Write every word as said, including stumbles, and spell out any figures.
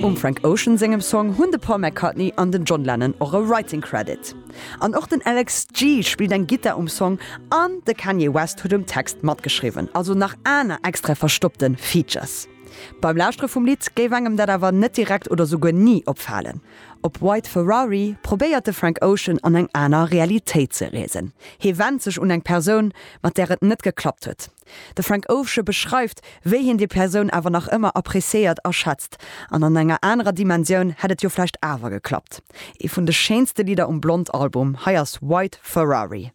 Um Frank Ocean sengem Song hunn de Paul McCartney an den John Lennon och e Writing Credit. An och den Alex G spillt eng Gittar um Song an de Kanye West huet um Text matgeschriwwen, also nach aner extra verstoppte Features. Beim Lauschtere vum Lidd géif engem dat awer net direkt oder souguer ni opfalen. Op White Ferrari probéiert de Frank Ocean an eng aner Realitéit ze reesen. Hie wennt sech un eng Persoun, mat där et net geklappt huet. De Frank Ocean beschreift, wéi hien déi Persoun awer nach ëmmer appreciéiert a schätzt. An an enger anerer Dimensioun hätt et jo vläicht awer geklappt. Ee vun de schéinste Lidder um Blond Album, hei ass White Ferrari.